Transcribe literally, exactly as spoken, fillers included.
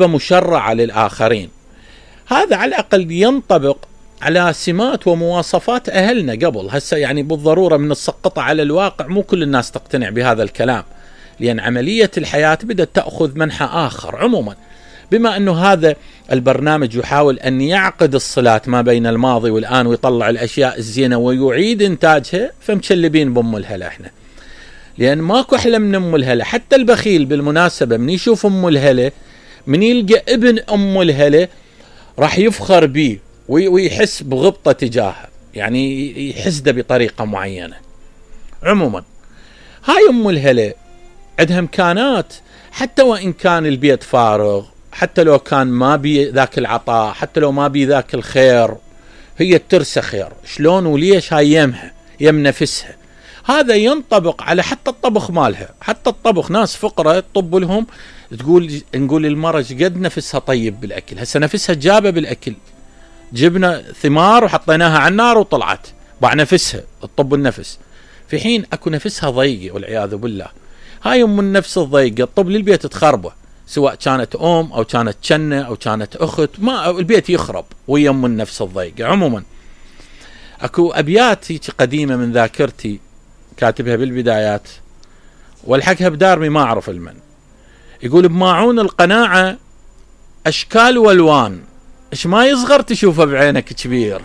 مشرعة للآخرين. هذا على الأقل ينطبق على سمات ومواصفات أهلنا قبل. هسه يعني بالضرورة من السقطة على الواقع مو كل الناس تقتنع بهذا الكلام، لأن عملية الحياة بدأت تأخذ منحى آخر. عموما بما أنه هذا البرنامج يحاول أن يعقد الصلات ما بين الماضي والآن ويطلع الأشياء الزينة ويعيد إنتاجها، فمشلبين بأم الهلا إحنا، لأن ماكو أحلى من أم الهلا. حتى البخيل بالمناسبة من يشوف أم الهلا، من يلقى ابن أم الهلا راح يفخر به ويحس بغبطة تجاهه، يعني يحس ده بطريقة معينة. عموما هاي أم الهلا عندها إمكانات، حتى وإن كان البيت فارغ، حتى لو كان ما بي ذاك العطاء، حتى لو ما بي ذاك الخير، هي ترسى خير. شلون وليش؟ هاي يمها يم نفسها. هذا ينطبق على حتى الطبخ مالها. حتى الطبخ ناس فقرة تطب لهم تقول نقول المرأة قد نفسها طيب بالأكل. هسه نفسها جابة بالأكل، جبنا ثمار وحطيناها على النار وطلعت باع نفسها تطب النفس، في حين أكو نفسها ضيقة والعياذ بالله. هاي أم النفس الضيقة تطب للبيت تخربه، سواء كانت أم أو كانت جنة أو كانت أخت، ما البيت يخرب ويا أم النفس الضيقة. عموما أكو أبيات قديمة من ذاكرتي كاتبها بالبدايات والحقها بدارمي ما أعرف المن. يقول: بماعون القناعة أشكال والوان، إيش ما يصغر تشوفه بعينك كبير.